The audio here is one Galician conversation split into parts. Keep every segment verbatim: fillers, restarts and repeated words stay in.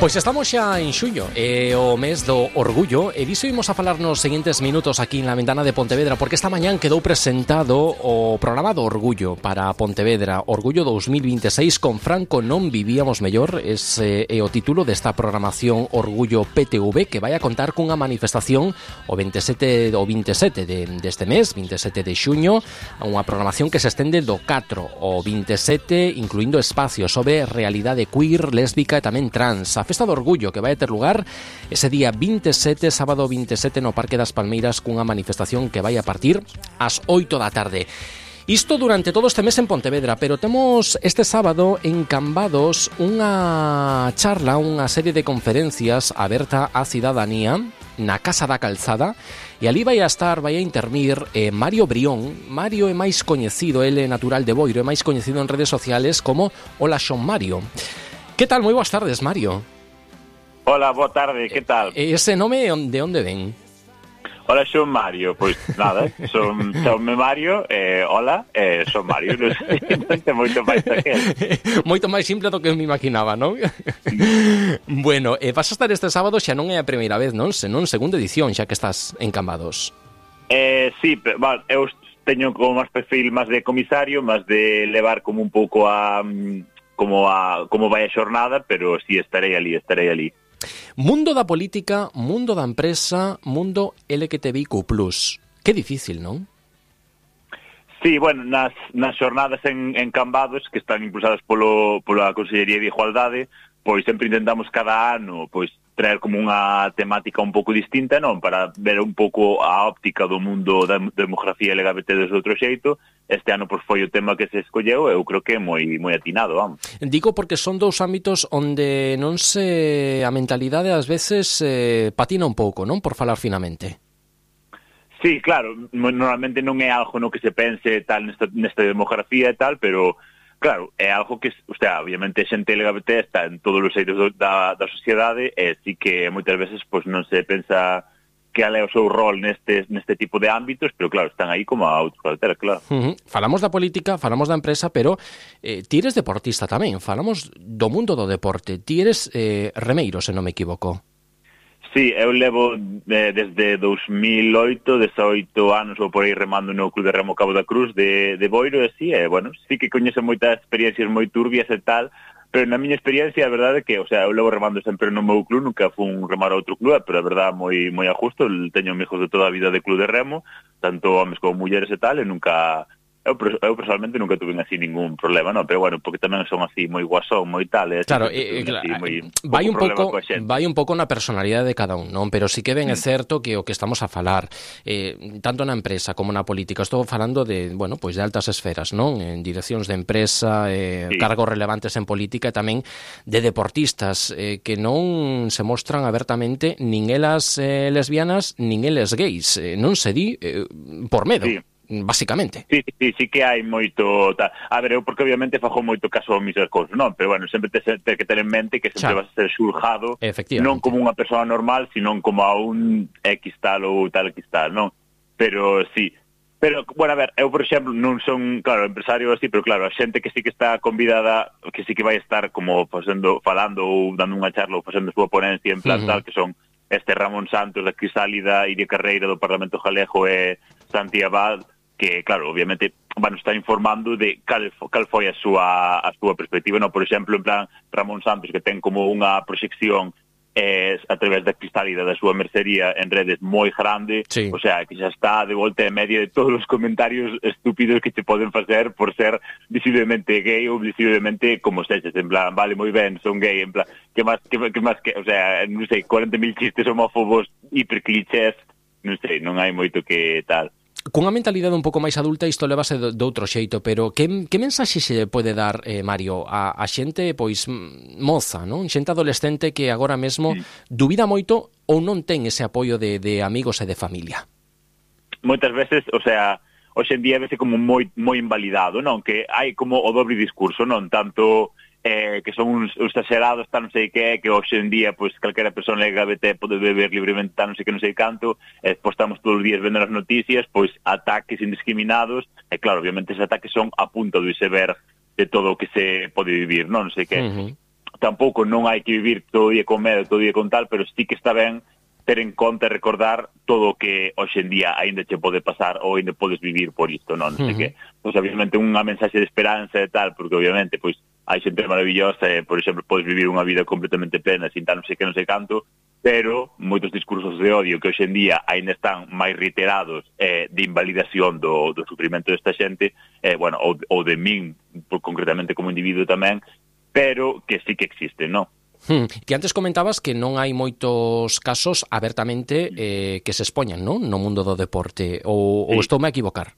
Pois estamos xa en xuño, é o mes do orgullo, e diso imos a falar nos seguintes minutos aquí na ventana de Pontevedra, porque esta mañán quedou presentado o programa do orgullo para Pontevedra, Orgullo dous mil vinte e seis, con Franco non vivíamos mellor. Ese é o título desta programación Orgullo P T V, que vai a contar cunha manifestación o veintisiete o veintisiete de, deste mes, veintisiete de xuño, unha programación que se estende do catro ao veintisiete, incluindo espacios sobre realidade queer, lésbica e tamén trans. A Festa do Orgullo, que vai ter lugar ese día veintisiete, sábado veintisiete, no Parque das Palmeiras, cunha manifestación que vai a partir ás oito da tarde. Isto durante todo este mes en Pontevedra, pero temos este sábado en Cambados unha charla, unha serie de conferencias aberta á cidadanía na Casa da Calzada, e ali vai a estar, vai a intervir eh, Mario Brión. Mario é máis coñecido, ele é natural de Boiro, é máis coñecido en redes sociales como Hola Xon Mario. Que tal? Moi boas tardes, Mario. Hola, boa tarde, que tal? E ese nome de onde ven? Hola, son Mario, pois nada, son, son Mario, eh, hola, eh, son Mario, non sei, non sei moito máis daquel. Moito máis simple do que me imaginaba, non? Bueno, eh, vas a estar este sábado, xa non é a primeira vez, non? Senón segunda edición, xa que estás en Cambados. Eh, sí, bueno, eu teño como máis perfil máis de comisario, máis de levar como un pouco a como a como vai a xornada, pero sí estarei ali, estarei ali. Mundo da política, mundo da empresa, mundo L G T B I Q plus. Que difícil, non? Sí, bueno, nas, nas xornadas en, en Cambados, que están impulsadas polo, pola Consellería de Igualdade, pois sempre intentamos cada ano pois traer como unha temática un pouco distinta, non? Para ver un pouco a óptica do mundo da demografía L G B T desde outro xeito. Este ano pois foi o tema que se escolleu, eu creo que é moi moi atinado, vamos. Digo porque son dous ámbitos onde non se a mentalidade ás veces eh, patina un pouco, non? Por falar finamente. Sí, claro, normalmente non é algo no que se pense tal nesta, nesta demografía e tal, pero claro, é algo que, o sea, obviamente a xente L G B T está en todos os eitos da, da sociedade, e sí que moitas veces pois non se pensa que ale é o seu rol neste, neste tipo de ámbitos, pero claro, están aí como a outros calteras, claro. Uh-huh. Falamos da política, falamos da empresa, pero eh, ti eres deportista tamén, falamos do mundo do deporte, ti eres eh, remeiro, se non me equivoco. Sí, eu levo eh, desde dos mil oito, dezaoito anos ou por aí remando no Club de Remo Cabo da Cruz de, de Boiro, e sí, eh, bueno, sí que coñezo moitas experiencias moi turbias e tal, pero na miña experiencia a verdade é que, o sea, eu levo remando sempre no meu club, nunca fun remar a outro club, pero a verdade moi moi a justo, teño amigos de toda a vida de Club de Remo, tanto homes como mulleres e tal, e nunca... Eu, eu personalmente nunca tuve así ningún problema, no, pero bueno, porque tamén son así moi guasón, moi tal, e claro, eh, claro, moi, vai un pouco vai un pouco na personalidade de cada un, non? Pero sí que ben é certo que o que estamos a falar, eh, tanto na empresa como na política, estou falando de, bueno, pois de altas esferas, non? En direccións de empresa, eh, sí. Cargos relevantes en política, e tamén de deportistas eh, que non se mostran abertamente nin elas eh, lesbianas, nin eles gays, eh, non se di eh, por medo. Sí. Basicamente. Sí, sí, sí que hai moito... Ta... A ver, eu porque obviamente fajo moito caso a mis recursos, non? Pero bueno, sempre te, te que ter en mente que sempre vas a ser xulgado non como unha persoa normal, sino como a un X tal ou tal X tal, non? Pero sí... Pero, bueno, a ver, eu, por exemplo, non son, claro, empresario así, pero claro, a xente que sí que está convidada, que sí que vai estar como facendo, falando ou dando unha charla ou facendo a súa ponencia en plan uh-huh. tal, que son este Ramón Santos da Crisálida, Iria Carreira do Parlamento Galego e Santi Abad, que, claro, obviamente van estar informando de cal, cal foi a súa, a súa perspectiva, no? Por exemplo, en plan, Ramón Santos, que ten como unha proxección eh, a través da Crisálida da súa mercería en redes moi grande, sí. O sea, que xa está de volta e media de todos os comentarios estúpidos que te poden facer por ser visiblemente gay ou visiblemente como sexes, en plan, vale, moi ben, son gay, en plan, que máis, que, que máis, que, o sea, non sei, cuarenta mil chistes homófobos hiperclichés, non sei, non hai moito que tal. Cunha mentalidade un pouco máis adulta isto levase de, de outro xeito, pero que, que mensaxe se pode dar, eh, Mario, a, a xente pois moza, non? Xente adolescente que agora mesmo sí. dubida moito ou non ten ese apoio de, de amigos e de familia? Moitas veces, o sea, hoxe en día vese como moi moi invalidado, non? Que hai como o dobre discurso, non? Tanto eh, que son uns, uns exagerados, tal, non sei que, que hoxe en día, pois, calquera persona L G B T pode beber libremente, tal, non sei que, non sei canto, e pois estamos todos os días vendo as noticias, pois, ataques indiscriminados, e claro, obviamente, esos ataques son a punta do iceberg de todo o que se pode vivir, non, non sei que. Uh-huh. tampouco non hai que vivir todo o día con medo, todo o día con tal, pero sí que está ben ter en conta e recordar todo o que hoxe en día aínda che pode pasar ou aínda podes vivir por isto, non? Non sei uh-huh. que, pois, obviamente, unha mensaxe de esperanza e tal, porque, obviamente, pois, hai xente maravillosa e, por exemplo, podes vivir unha vida completamente plena sin tal non sei que non sei canto, pero moitos discursos de odio que hoxe en día aínda están máis reiterados eh, de invalidación do, do sufrimento desta xente, eh, bueno, ou, ou de min, por, concretamente como individuo tamén, pero que sí que existen, non? Hmm. Que antes comentabas que non hai moitos casos abertamente eh, que se expoñan, non? No mundo do deporte, ou, sí. ou estou me a equivocar?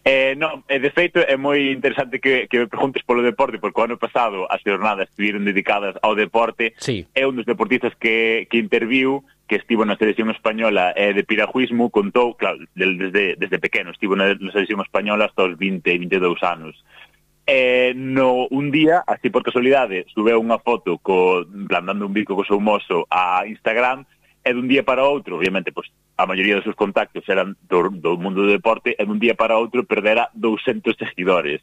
Eh, non, eh, de feito é moi interesante que, que me preguntes polo deporte, porque o ano pasado as jornadas estiveron dedicadas ao deporte. Sí. É un dos deportistas que, que interviu, que estivo na selección española eh, de piragüismo, contou, claro, desde, desde pequeno, estivo na, na selección española hasta os vinte, vinte e dous anos. Eh, no, un día, así por casualidade, subeu unha foto co, dando un bico co seu mozo a Instagram, e dun día para outro, obviamente, pues, a maioría dos seus contactos eran do, do mundo do deporte, e dun día para outro perdera douscentos seguidores.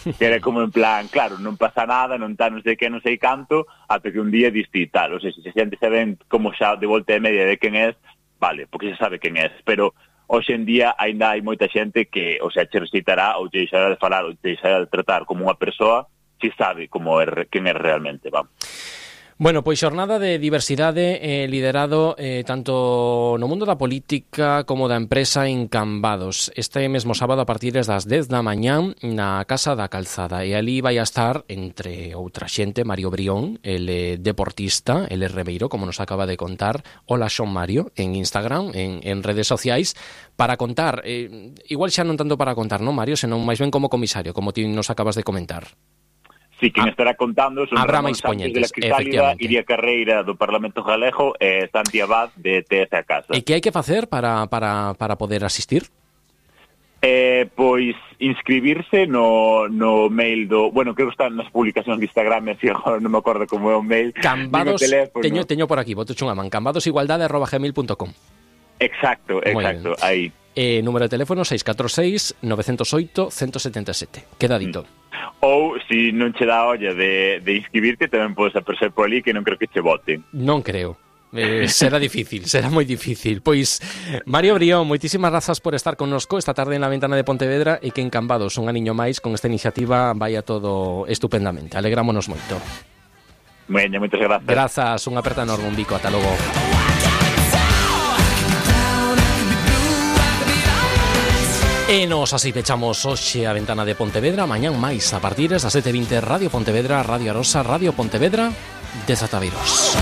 Que era como en plan, claro, non pasa nada, non tá non sei que, non sei canto, ata que un día diste tal. O sea, se a xente saben como xa de volta e media de quen é, vale, porque xa sabe quen é, pero hoxe en día aínda hai moita xente que, o sea, che recitará ou che deixará de falar ou che deixará de tratar como unha persoa se sabe como é, quen é realmente, vamos. Bueno, pois xornada de diversidade eh, liderado eh, tanto no mundo da política como da empresa en Cambados. Este mesmo sábado a partir das dez da mañán na Casa da Calzada. E ali vai a estar, entre outra xente, Mario Brión, el eh, deportista, el Rebeiro, como nos acaba de contar. Hola, Xon Mario, en Instagram, en, en redes sociais, para contar. Eh, igual xa non tanto para contar, non, Mario, senón máis ben como comisario, como ti nos acabas de comentar. Sí, quen estará contando son Ramón Sánchez de la Cristálida, Iria Carreira do Parlamento Galego e Santi Abad de T S A Casa. E que hai que facer para, para, para poder asistir? Eh, pois inscribirse no, no mail do... Bueno, creo que están nas publicacións de Instagram, así agora non me acordo como é o mail. Cambados, teño, teño por aquí, boto unha man, cambadosigualdade arroba gmail punto com. Exacto, exacto, aí. Eh, número de teléfono seis catro seis, nove cero oito, uno cero sete sete. Quedadito. Mm. Ou, se non che dá olla de, de inscribirte, tamén podes aparecer por ali, que non creo que che voten. Non creo. Eh, será difícil, será moi difícil. Pois, Mario Brión, moitísimas grazas por estar connosco esta tarde na Ventana de Pontevedra e que en Cambados, un aniño máis, con esta iniciativa vai a todo estupendamente. Alegrámonos moito. Bueno, moitas grazas. Grazas, unha aperta enorme, un bico, ata logo. E nos así pechamos hoxe a Ventana de Pontevedra. Mañán máis a partir das sete e vinte, Radio Pontevedra, Radio Arosa, Radio Pontevedra, desataveiros.